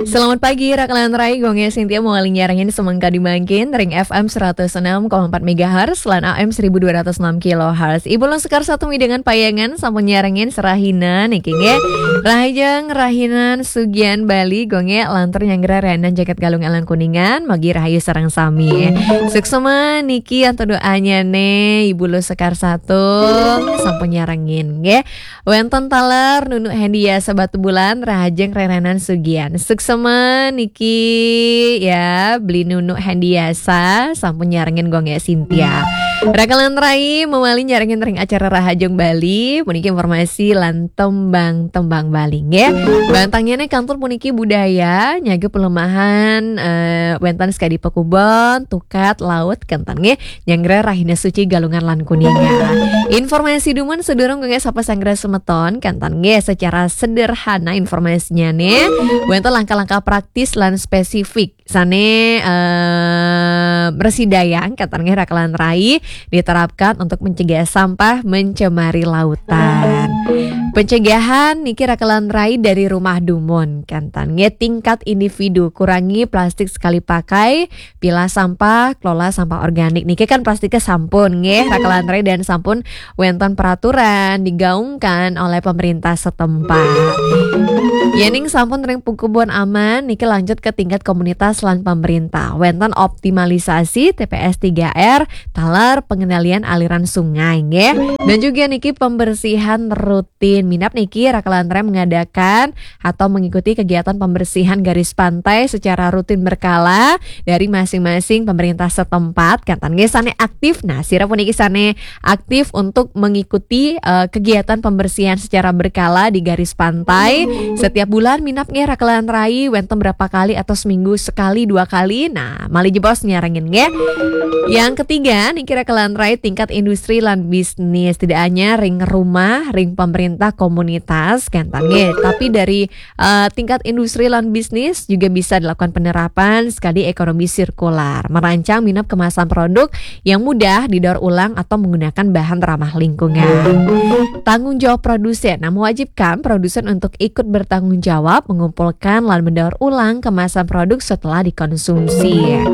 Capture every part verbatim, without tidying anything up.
Selamat pagi, Rakalan Rai, Gung Sintia mawali nyarengin semeng kadi mangkin, ring F M seratus enam koma empat megahertz, lan A M seribu dua ratus enam kilohertz. Ibu Lusekar satu midangan payangan, sampun nyarengin serahina, niki nggih. Rahajeng rahinan sugian Bali, Gung, lantur nyanggra renan jagat Galungan lan Kuningan, magi rahayu sareng sami. Suksma niki antuk doanya ne, Ibu Lusekar satu, sampun nyarengin, nggih. Wenten taler Nunu Hendiasa Batubulan, rahajeng rerenan sugian. Suksma niki ya, beli Nunu Hendiasa, sampun nyarengin Gung Sintia. Rakalan Rai, mawali nyarengin ring acara Rahajeng Bali, puniki informasi lan tembang-tembang Bali, nggih. Bantangnya ne kantun puniki budaya, nyaga pelemahan, eh, wenten sekadi pakubon, tukad, laut, kenten, nggih. Nyanggra rahina suci Galungan lan Kuningan. Informasi dumun sedurung Gung sapasanggra semeton, kenten nggih, secara sederhana informasinya ne, wenten langkah-langkah praktis lan spesifik sane, eh, mresidayang, kenten nggih, Rakalan Rai, diterapkan untuk mencegah sampah mencemari lautan. Pencegahan niki, Rakalan Rai, dari rumah dumun, kenten nggih, tingkat individu, kurangi plastik sekali pakai, pilah sampah, kelola sampah organik. Niki kan plastiknya sampun nggih, Rakalan Rai, dan sampun wenten peraturan digaungkan oleh pemerintah setempat. Yening sampun ring pakubon aman, niki lanjut ke tingkat komunitas lan pemerintah. Wenten optimalisasi T P S tiga R, taler pengendalian aliran sungai nggih. Dan juga niki pembersihan rutin. Minab niki, Rakalan Rai, mengadakan atau mengikuti kegiatan pembersihan garis pantai secara rutin berkala dari masing-masing pemerintah setempat, kenten nggih, sane aktif. Nah, sira puniki sane aktif untuk mengikuti, eh, kegiatan pembersihan secara berkala di garis pantai. Setiap bulan minab nggih, Rakalan Rai, wenten berapa kali atau seminggu sekali, dua kali. Nah, malih jebos nyarengin nggih. Yang ketiga niki, Rakalan Rai, tingkat industri lan bisnis. Tidak hanya ring rumah, ring pemerintah, komunitas, kenten nggih, tapi dari, eh, tingkat industri lan bisnis juga bisa dilakukan penerapan sekadi ekonomi sirkular, merancang minab kemasan produk yang mudah didaur ulang atau menggunakan bahan ramah lingkungan. Tanggung jawab produsen, nah, mewajibkan produsen untuk ikut bertanggung jawab mengumpulkan lan mendaur ulang kemasan produk setelah dikonsumsi.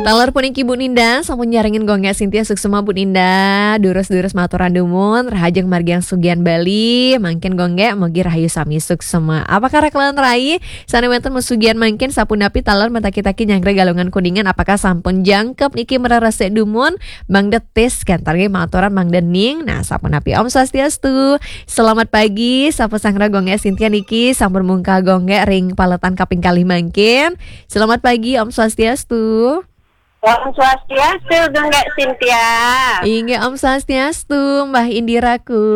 Taler puniki Bu Ninda, sampun nyarengin Gung Sintia, suksma Bu Ninda, durus-durus maturan dumun, rahajeng margiang sugian Bali, mangkin Gung, mugi rahayu sami suksma. Apakah Rakalan Rai, sane wenten masugian mangkin, sapunapi taler mataki-taki nyanggra Galungan Kuningan, apakah sampun jangkep niki mreresik dumun, Mang Detis, kenten nggih, maturan Mang Dening. Nah, sapunapi, Om Swastiastu. Selamat pagi, sapasanggra Gung Sintia niki, sampun mungkal Gung ring paletan kaping kalih mangkin. Selamat pagi, Om Swastiastu. Om Swastiastu, Gung Sintia. Inggih, Om Swastiastu, Mbah Indiraku.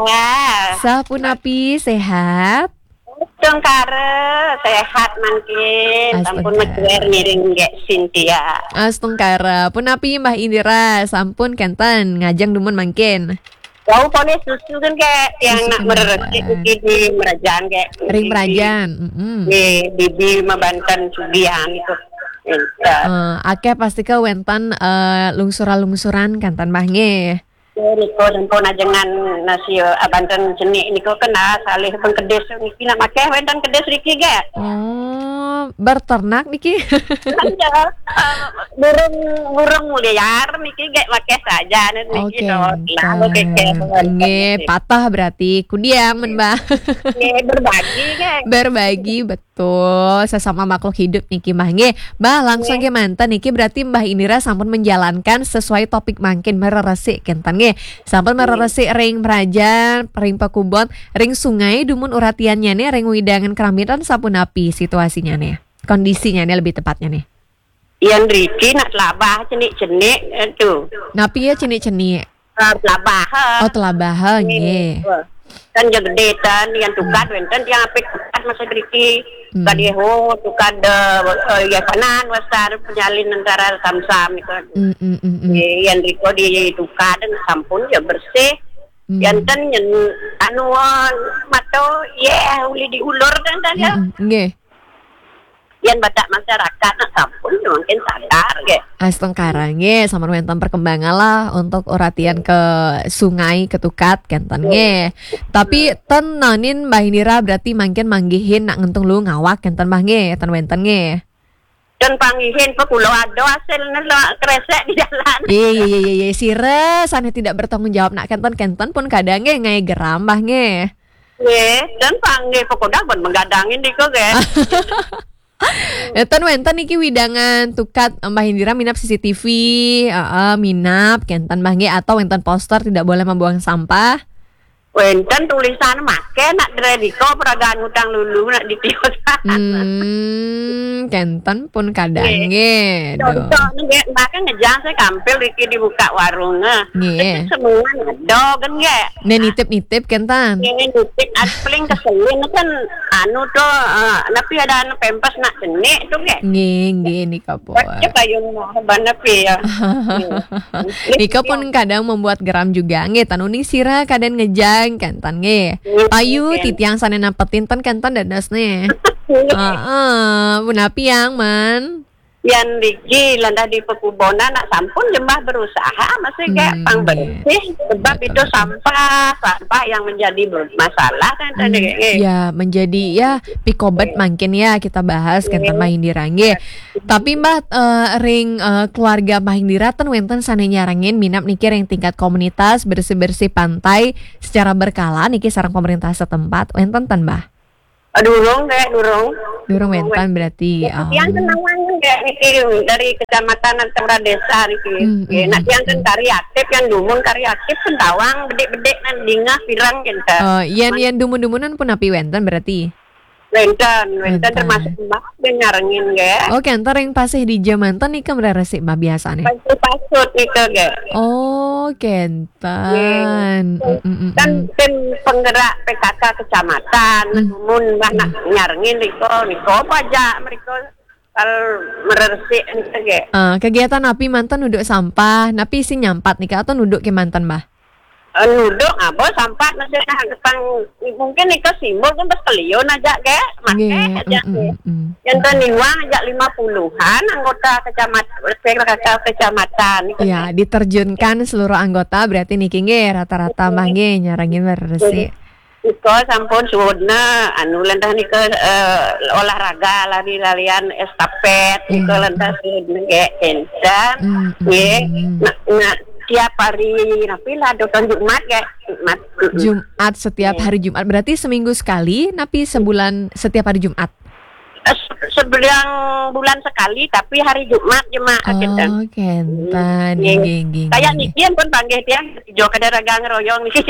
Ya. Sapunapi, sehat? Astungkara, sehat mangkin. Sampun Astungkara. Metuer ngiring Gung Sintia. Astungkara. Punapi Mbah Indira, sampun kenten ngajeng dumun mangkin? Wau, pone susu kan, Gung, yang nak Astungkara. Mereresik di Merajan, Gung. Ring Merajan, mm-mm. Di, di, di Mabanten Sugian itu. Iya. Eh, akeh pasti ke wenten, eh, lungsuran-lungsuran kenten, Mbah, nggih. Ya, niku sampun ajengan nasi, eh, Banten cenik niku kena salih pengkedis niki nak makeh wenten kedis riki, Gung. Oh, berternak niki? Iya, eh, burung, burung liar niki, Gung, makeh saja niki. Oke, to. Lalu keke. Nggih, patah berarti. Kudiang men, Mbah. Nggih, berbagi, Gung. Berbagi, betul. Sesama makhluk hidup niki, Mbah. Nggih, Mbah, langsung, nggih, ke manten niki, berarti Mbah Indira sampun menjalankan sesuai topik mangkin, mereresik kenten, nggih. Sampun, nggih, mereresik ring Merajan, ring pakubon, ring sungai, dumun uratiannya nih, ring wewidangan keramitan sapunapi situasinya nih, kondisinya nih lebih tepatnya nih. Yan riki nak telabah cenik-cenik, eh, tu. Napi ya cenik-cenik? Eh, telabah, eh. Oh, telabah, eh, nggih. Eh, kan ya gede tan, yang tukad, hmm, wenten yang apik tukad masa riki. Hmm. Tukad yeho, tukad, eh, eh, ya panan, wasar, penyalin antara samsam itu. Hmm, hmm, hmm, hmm. Eh, yang riko di tukad, sampun ya bersih. Hmm. Yanten nyen, anu, eh, mato, ya, uli diulur dan tadi. Hmm, hmm, nggih. Yén badak masyarakat nak sampun mungkin sadar nggih. Astungkara nggih, sampun wénten perkembangan lah untuk uratian ke sungai, ke tukat, kénten nggih. Tapi ten nanin Mbah Indira berarti mangkin manggihin nak ngentung lu ngawak, kénten Mbah nggih, ten wénten nggih. Ten panggihin pe kula ada hasilnya lo kresek di jalan. Iya, iya, iya, iya, iya. Sira sané tidak bertanggung jawab nak kénten-kénten pun kadang nggih ngai geram Mbah nggih. Nggih, ten panggih pekodak pun menggadangin diko nggih. Ten wénten niki widangan tukat Mbah Indira minap C C T V, heeh, minap kénten Mbah nggih atau wénten poster tidak boleh membuang sampah. Wénten tulisan maké nak drediko peragaan utang lulu nak ditiusan. Hmm, kénten pun kadang nggih. Contoh nggih, Mbah kan ngejang saya kampil iki dibuka warung. Nggih. Semua ada kan nggih. Nih nitip-nitip kénten. Nggih, nitip, paling keselin kan anu to, eh, napi ada anu pempes nak cenik to nggih. Nggih, nggih nika pun. Baca kayung mau ban napi ya. Nika pun kadang membuat geram juga nggih, tan uning sira kadang ngejang kénten nggih. Payu titiang sané napetin ten kénten dados nih. Heeh, punapi yang man. Yan riki landah di pekubonan nak sampun jemah berusaha masih kayak pang bersih sebab itu sampah, sampah yang menjadi masalah kan tadi. Ya, menjadi ya pikobet mangkin ya kita bahas kan Mbah Indira nggih. Tapi Mbah, eh, ring, eh, keluarga Mbah Indira ten wénten sané nyarengin minap niki ring tingkat komunitas bersih-bersih pantai secara berkala niki sareng pemerintah setempat wénten ten Mbah? Durung kayak durung. Durung wénten berarti. Tiang kenalan kayak niki dari kecamatan atau desa niki. Nak tiang kan kari aktif, yang dumun kari aktif, sentawang bedik-bedik nan dingah pirang gitu. Oh, yen yen dumun-dumunan pun api wénten berarti. Wénten, wénten termasuk Mbah nyarengin nggih. Oh, kénten ring pasih di jamanten nika mreresik Mbah biasane. Pasut nika nggih. Oh, kénten. Kan tim penggerak P K K kecamatan, mun Mbah nak nyarengin nika, nika apa aja mereka kal meresik nika nggih. Eh, kegiatan api manten nuduk sampah, napi sing nyampat nika atau nuduk ke manten Mbah? Eh, nuduk apa sampah masih nah, mungkin nika simbol kan pas kelion aja nggih, maké aja nggih. Yang teniwang aja lima puluhan anggota kecamatan, P K K kecamatan. Ya, diterjunkan seluruh anggota berarti niki nggih rata-rata mah nggih nyarengin bersih. Iko sampun suwunna anu lendah nika eh, olahraga lari-larian estafet nika lendah suwunna nggih encan nggih. Nah, nah, tiap hari napi lah doton Jumat nggih. Jumat. Jumat setiap hari Jumat. Berarti seminggu sekali napi sebulan setiap hari Jumat? Eh, se- sebelang bulan sekali tapi hari Jumat jemaah kita. Oh, kenten. Nggih. Nggih, nggih, nggih, kayak nggih. Niki pun panggih tiang jo kada ragang royong niki.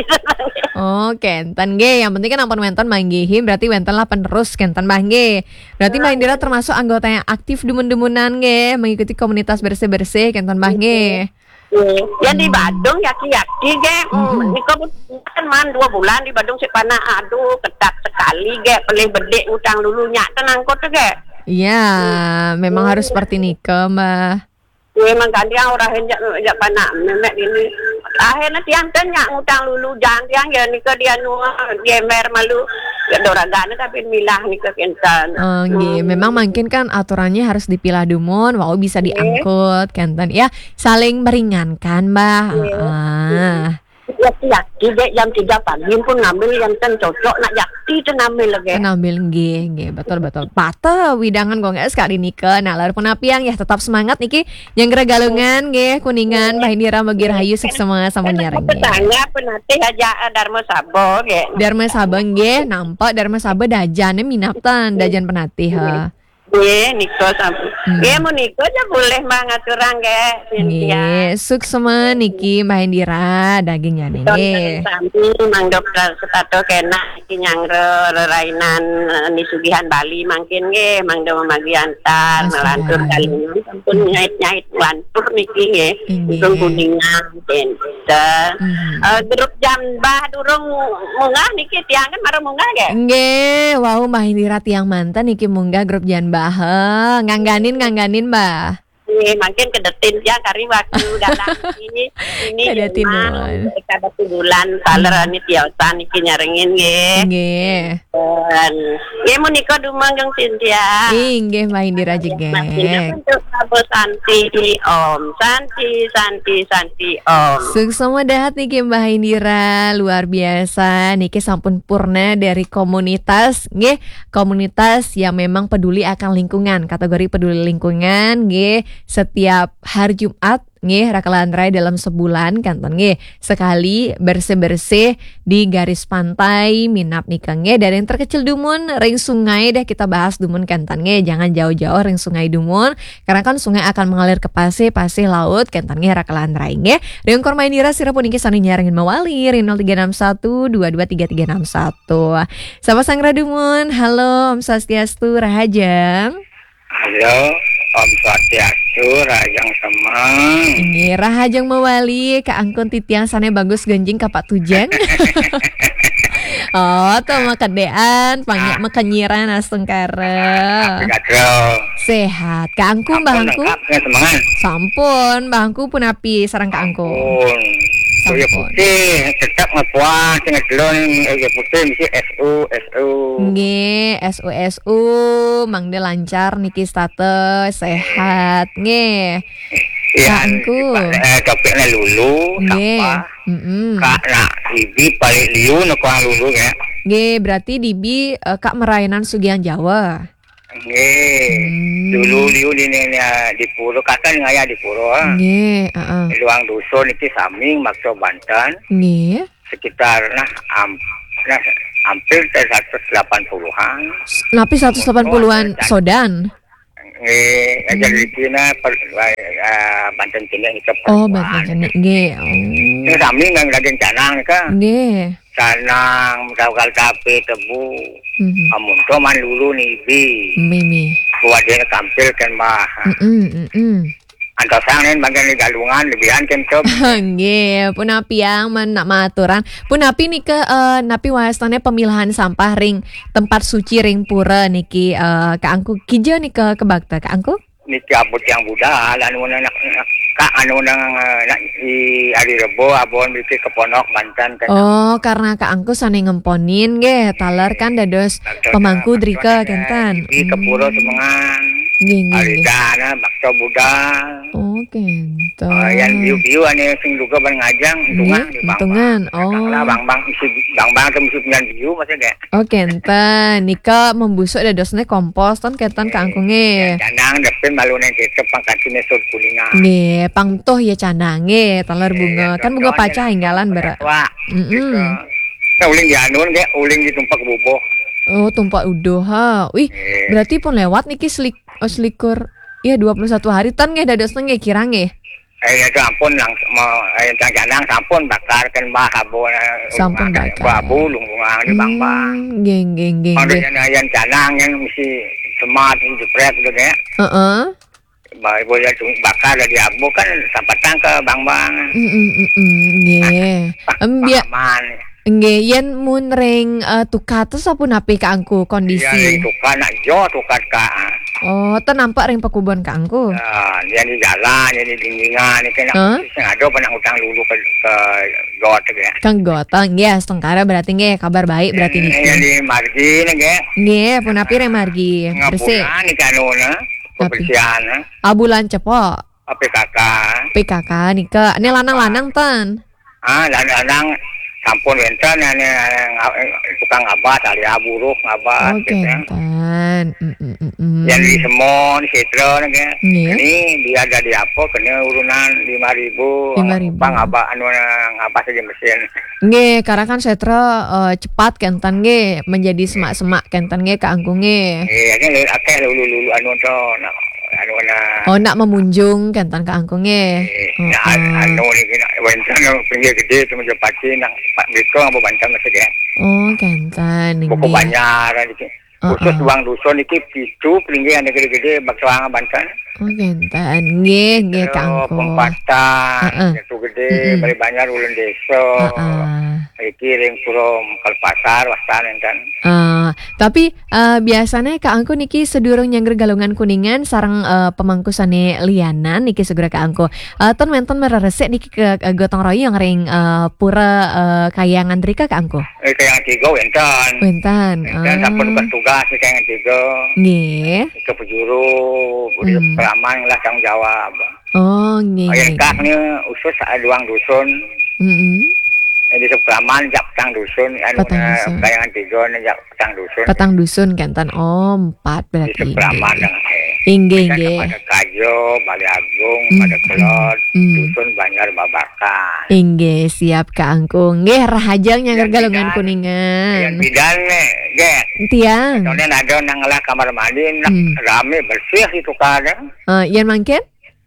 Oh, kenten nggih. Yang penting kan ampun wénten manggihin berarti wénten lah penerus kenten Mbah nggih. Berarti Mbah Indira termasuk anggota yang aktif dumun-dumunan nggih, mengikuti komunitas bersih-bersih kenten Mbah nggih. Yang di Badung yaki-yaki ge, hmm, nika pun kan man dua bulan di Badung si panak, aduh ketat sekali ge, pelih bedik ngutang lulu nyak tenangkut ge. Iya, memang harus seperti nika, Mbah. Memang kan dia orang henjak jak panak memek ini. Akhirnya tiang kan nyak ngutang lulu jang tiang ya nika dia nu gemer malu. Ya doragana tapi milah nika kenten. Oh, nggih. Memang mungkin kan aturannya harus dipilah dumun, wau bisa diangkut kenten. Ya, saling meringankan, Mbah. Heeh. Yaki-yaki je jam tiga pagi pun ngambil yang ten cocok nak yakti tu ngambil lagi. Ngambil nggih, nggih, betul betul. Pata widangan gong es kali nika. Nah, lar pun apiang ya tetap semangat niki. Yang gerak galungan nggih, Kuningan, Mbah Indira Mogi Rahayu suksma sampun nyareng nggih. Tetangga penatih aja eh, Dharma Sabo nggih. Dharma Sabo nggih, nampak Dharma Sabo dajane minaptan, dajan penatih ha. Nggih, nika sampun. Nggih, mun nika aja boleh Mbah ngaturang nggih, Cynthia. Nggih, suksma niki Mbah Indira dagingnya nggih. Sami Mang Dokter Setato kena niki nyangre rerainan eh, ni sugihan Bali mangkin nggih, Mang Dewa Magiantar, melantur kalinya sampun nyait-nyait lantur niki nggih. Nggih. Untung Kuningan, Cynthia. Eh, grup jam Mbah durung munggah niki tiang kan marang munggah nggih. Nggih, wau Mbah Indira tiang manten niki munggah grup jan Mbah. He, ngangganin ngangganin Mbah. Nggih, mangkin kedatin ya kari waktu galang ini. Ini Kedatin memang nuwun. Kada bulan taler Hmm. Ini tiosan iki nyarengin nggih. Nggih. Dan nggih menika dumanggeng Cynthia. Inggih, Mbah Indira Jegek. Untuk Prabu Santi Om. Santi, Santi, Santi Om. Suksma dahat niki Mbah Indira, luar biasa. Niki sampun purna dari komunitas, nggih, komunitas yang memang peduli akan lingkungan, kategori peduli lingkungan, nggih, setiap hari Jumat, nggih, Raka Lantrai dalam sebulan, kanten, nggih, sekali bersih-bersih di garis pantai Minab nika, nggih. Dari yang terkecil dumun, ring sungai deh kita bahas dumun, kanten, nggih. Jangan jauh-jauh ring sungai dumun, karena kan sungai akan mengalir ke pasih, pasih laut, kanten, nggih, Raka Lantrai, nggih. Ring Korma Indira, sira puniki sami nyarengin mawali, ring nol tiga enam satu dua dua tiga tiga enam satu. Sapa sanggra dumun? Halo, Om Swastiastu, rahajeng. Halo, Om Swastiastu, rahajeng semeng. Inggih, rahajeng mawali, Ka Angkun titiang sane bagus genjing ka Pak Tujeng. Oh, to makedean, pangnya Ah. Makenyiran astungkara. Apa kabar? Sehat. Ka Angku, Mbah Angku? Lengkap, ya, semangat. Sampun, Mbah Angku punapi sareng Ka Angku? Sampun. Kuya Sampun. Putih, tetap ngepuas, ngedlon, eh, ya putih, mesti S U, S U. Nggih, S U, S U, mangda lancar niki status, sehat, nggih. Iya, Ka Angku. Pak, eh, topiknya lulu, Nggih. Sampah. Mm-mm. Kak, nak, ibi paling liu, nak kurang lulu, ya. Nggih, berarti dibi, eh, Kak merainan Sugiang Jawa. Nggih. Hmm. Dulu liu di, di, di, di Pura, Kak kan ngaya di Pura. Nggih, heeh. Luang Dusun niki sami maksa Banten. Nggih. Sekitar, nah, am-, nah, hampir ke seratus delapan puluhan. S-, napi seratus delapan puluhan Motor ada sodan? Nggih, Hmm. Jadi kina per-, eh, Banten kini kita Oh, perempuan. Banten kini, nggih. Oh. Ini sami nang daging canang ka. Nggih. Canang, tahu kal tape, tebu. Mhm. Amun to man lulu nibi. Mimi. Buat dia tampil kan, Mbah. Mm-mm, mm-mm. Antosang nen bagian di galungan, lebihan kan, Sob. Nggih, punapi yang men-, nak maaturan. Punapi nika, eh, napi wastane pemilahan sampah ring tempat suci ring pura niki, eh, Ka Angku kija nika kebakta, Ka Angku? Niki abot yang budal, anu nang, nang, Kak, anu nang, eh, nak di hari Rebo, abon mikir ke Ponok, Banten, kan. Oh, karena Ka Angku sane ngemponin nggih, taler kan dados Bakso pemangku Budal, drika, bakso kenten. Di ke pura Hmm. Semengan. Nggih, nggih, Hari nggih. Dana, bakso budal. Oh, kenten. Ah, yang biu-biu ane sing duga ban ngajang, Hmm, tungah di Bang tungan. Bang. Oh. Kang lah Bang Bang isi Bang Bang tu mesti punya biu, maksudnya. Oh, kenten. Nika membusuk dadosne kompos, ton kenten Ka Angku nggih. Ya, canang depin malu neng kecap pangkatine sud kuningan. Nggih, pang tuh ya canang nggih, taler Nggih, bunga. Ya, Kan bunga contohnya pacah lah, inggalan contohnya berak. Wah, Mm-mm. Gitu. Nah, uling di anu nggih, uling di tumpak bubuh. Oh, tumpak uduh ha. Wih, Nggih. Berarti pun lewat niki selik-, oh, selikur. Iya, dua puluh satu hari tan nggih dadosne nggih kirang nggih. Eh, ya, itu ampun, langsung mau, eh, yang canang sampun bakar kan, Mbah, abu, eh, Sampun bakar. Abu, lungkungan di Bang Bang. Hmm, nggih, nggih, nggih, Kalau nggih. Yang, yang canang yang mesti semat, mesti jeprek gitu ya. Heeh. Mbah, ibu ya tu bakar dari abu kan sampatang ke Bang Bang. Mm, mm, mm, mm, nggih. Pak, Em, Pak bia-, Aman. Nggih, yen mun ring, eh, tukates apa napi Ka Angku kondisi? Iya, ring tukar nak jo tukar, Kak. Oh, ten nampak ring pekubon Ka Angku? Ya, yang di jalan, yang di dindingan, ini kena Hah? Sing ada apa nak utang dulu ke, ke got, ya. Kang Gotong, nggih, astungkara berarti nggih, kabar baik berarti Hmm, niki. Yang di margi, nggih. Nggih, punapi ring margi? Bersih. Ngapunten, niki anu, nah, Tapi kebersihan, nah. Ah, bulan cepok. P K K. P K K nika. Ini lanang-lanang ten? Ah, lanang-lanang sampun wenten, ini, eh, tukang ngabas, ahli buruh ngabas, Oh, gitu. Kenten. Mm, mm, mm, mm. Yang di Semon, Sitra, nih, Nggih. Ini dia ada di apa, kena urunan lima ribu, Lima ribu. Apa ngabas, anu, ngabas aja mesin. Nggih, karena kan setra, eh, cepat kenten nggih, menjadi semak-semak kenten nggih Ka Angku nggih. Nggih, ini lho, akeh lulu-lulu anu to, nak, anu, nak. Oh, nak memunjung kenten Ka Angku nggih. Nggih, nak, Heeh. Anu niki nak wenten pinggir gede tu macam pati nak Pak Biko apa Banten mesti ya. Oh, kenten Buku nggih. Banjar niki. Khusus Heeh. Uang dusun niki pitu pelinggih ane gede-gede bakso Banten. Oh, kenten. Nggih, nggih, Ka Angku. Pempatan, Heeh. Jatuh Gede, Mm-mm. Bali Banjar, Ulun Desa. Heeh. Iki ring Pura Kalpasar, wastan enten. Eh, Tapi eh, biasanya Kak Angku niki sedurung nyangger Galungan Kuningan sareng eh, pemangku sane lianan niki segera Kak Angku. Eh, ten wenten mereresik niki ke eh, gotong royong ring eh, pura eh, Kayangan drika Kak Angku. Eh, Kayangan tiga wenten. Wenten. Dan sampun Ah. Bertugas di Kayangan tiga. Nggih. Ke Pejuru, Budi Hmm. Peraman lah tanggung jawab. Oh, nggih. Ayo Nggih. kak ni usus ada duang dusun. Mm-mm. Jadi seperaman jak petang dusun, anu Petang na dusun. Kayangan tiga ni jak petang dusun. Petang dusun kenten. Oh, empat Di berarti. seperaman Nggih. dengan eh. Inggih, Kan nggih. Pada Kajo, Bali Agung, Hmm, Pada Kelod, hmm. Dusun Banjar Babakan. Inggih, siap Kak Angku. Nggih, rahajeng nyangger Yang Galungan bidan, Kuningan. Yang bidan nih, gek. Tiang. Soalnya ada nang ngelah kamar mandi, nak Hmm. rame bersih itu kada. Eh, yen mangkin?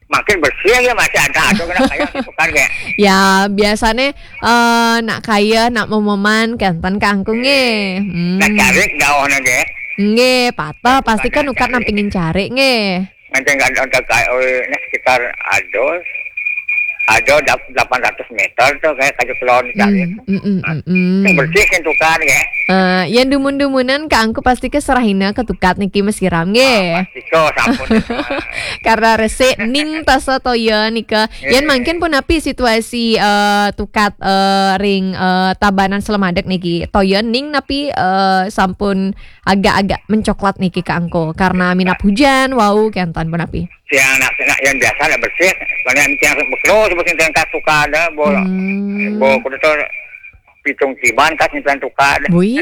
Makin bersih ya masih ada ada kena kayak itu kan gek. Ya, biasanya eh nak kaya nak momoman kenten Kak Angku nggih. Hmm. Nak cari jauh nih gek. Nggih, patah Itu pasti kan kan ukat cari. Nampingin cari nggih. Nanti nggak ada kayak oh ini sekitar ada ada dap- delapan ratus meter tuh kayak kayu kelon cari. Hmm, mm, mm, mm, mm. Yang bersih kan tuh kan gek. Eh, yen dumun-dumunan Kak Angku pasti ke serahina ke tukat niki mesiram nggih. Pasti kok sampun. Karena resik ning tasa toya nika. Yen Eh. Mangkin pun napi situasi eh, tukat eh, ring eh, Tabanan Slemadeg niki. Toya ning napi eh, sampun agak-agak mencoklat niki Kak Angku karena minap hujan wau kenten pun napi. Tiang nak nak yang biasa nak bersih. Mana yang tiang beklo sebut tiang kasuka ada bola. Hmm. Bo kudu tu pitung tiban kas ni tuan tukar. Bui.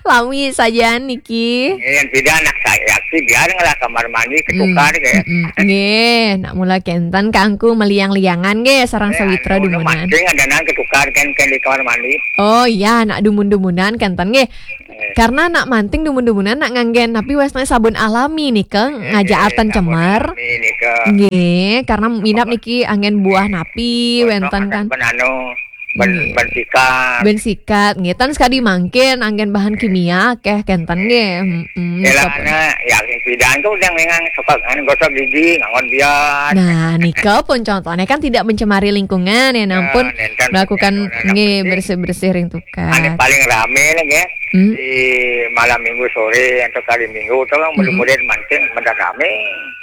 Lami saja niki. Yang tidak nak saya sih biar ngelah kamar mandi Hmm, ketukar kayak. mm, mm. Nggih, nak mula kenten Kak Angku meliang-liangan nggih sareng sawitra Anu, dumunan. Mancing ada nang ketukar kan kan di kamar mandi. Oh ya, nak dumun-dumunan kenten nggih. Eh. Karena nak manting dumun-dumunan nak nganggen napi wastane sabun alami nika ngajaaken Sabun cemar. Ini ke Nggih, karena minap niki anggen buah napi wenten kan. Ben anu ben Nggih. Ben sikat. Ben sikat, nggih tan sekadi mangkin anggen bahan kimia akeh kenten nggih. Heeh. Elana ya pidan tuh yang dengan suka anu gosok gigi ngangon biar. Nah, nika pun contohnya kan tidak mencemari lingkungan ya, nampun Nenten melakukan punya orang nggih penting. Bersih-bersih ring Ane tukat. Paling rame nih ya. Hmm. Di malam minggu sore atau kali minggu tuh kan Mm-mm. mulai mancing bener rame.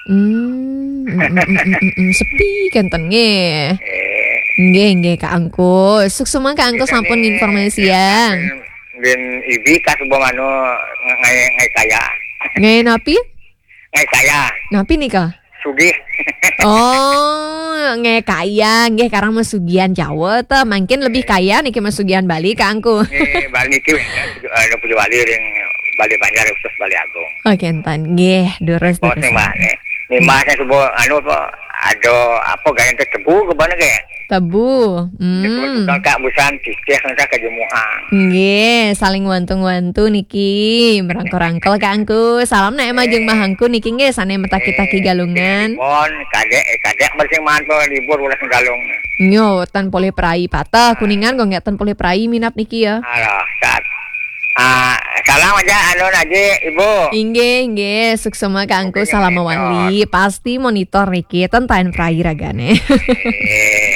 Hmm, mm, mm, mm, mm, mm. Sepi kenten nggih. Eh, Nggih, nggih Kak Angku. Suksema Kak Angku sampun informasian. Din ibi kas bo anu ngai ngai kaya. Nggih napi? Ngai kaya. Napi nika? Sugih. Oh, nggih kaya, nggih karang masugian Jawa ta. Mangkin lebih kaya niki masugian Bali Kak Angku. Eh, balik ke ada punya balik yang balik Banjar khusus balik Agung. Oh, kenten. Nggih, durus Bos durus. Nih mbak nih. Nih mbak saya sebut anu apa? Ada apa gaya ke tebu ke mana ke? Tebu. Hmm. Kalau kak busan cicih nanti ke jemuang. Nggih, saling wantung-wantu niki, merangkul-rangkul Kak Angku. Salam nak emang jeung Mbah Angku niki nggih sane metaki-taki Galungan. Bon, kadek eh, kadek bersih mantul libur ulah Galung. Nyo, tan polih prai patah, Kuningan kok nggak tan polih prai minap niki ya. Alah, saat. Ah, salam aja anu aja Ibu. Inggih, inggih, suksema Kak Angku, Oke, salam monitor. Mawali. Pasti monitor niki, ten tain prai ragane. Eh.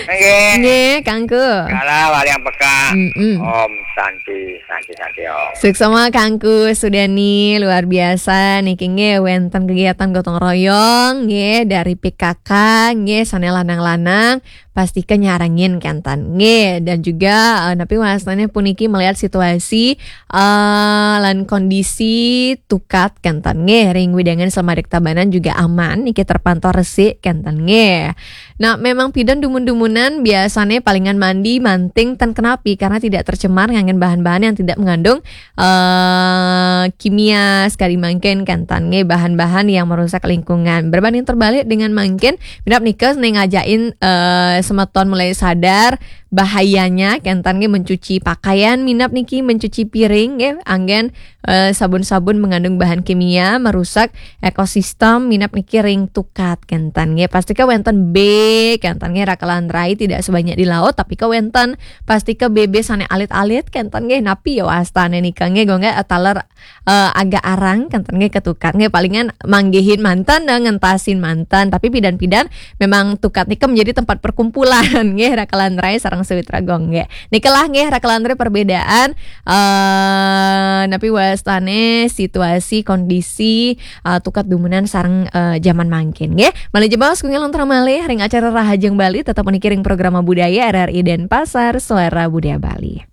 Nggih. Nggih, Kak Angku. Salam wali yang peka. Mm-mm. Om Santi, Santi, Santi Om. Suksema Kak Angku Sudani, luar biasa niki nggih wenten kegiatan gotong royong nggih dari P K K nggih sane lanang-lanang pasti kenyarengin kenten nggih dan juga eh, napi wastane puniki melihat situasi eh, lan kondisi tukat kenten nggih ring wewidangan Slemadeg Tabanan juga aman niki terpantau resik kenten nggih. Nah, memang pidan dumun-dumunan biasanya palingan mandi, manting, ten kenapi karena tidak tercemar nganggen bahan-bahan yang tidak mengandung eh kimia sekali mangkin kenten nggih bahan-bahan yang merusak lingkungan. Berbanding terbalik dengan mangkin minap nika ning ngajakin eh semeton mulai sadar bahayanya kenten nggih mencuci pakaian minap niki mencuci piring nggih anggen eh, sabun-sabun mengandung bahan kimia merusak ekosistem minap niki ring tukat kenten nggih pasti ke wenten B kenten nggih rakelan rai tidak sebanyak di laut tapi ke wenten pasti ke B B sane alit-alit kenten nggih napi ya wastane nika nggih go nggih taler eh, agak arang kenten nggih ketukat nggih palingan manggihin mantan dan ngentasin mantan tapi pidan-pidan memang tukat nika menjadi tempat perkumpulan nggih rakelan rai sareng Sawitra Gong nggih. Nikelah nggih, ra kalantur perbedaan eh napi wastane situasi kondisi eh, tukat dumunan sareng eh, zaman mangkin nggih. Malih jebos kula nguntur malih ring acara Rahajeng Bali, tetep puniki ring programa budaya R R I Denpasar, Suara Budaya Bali.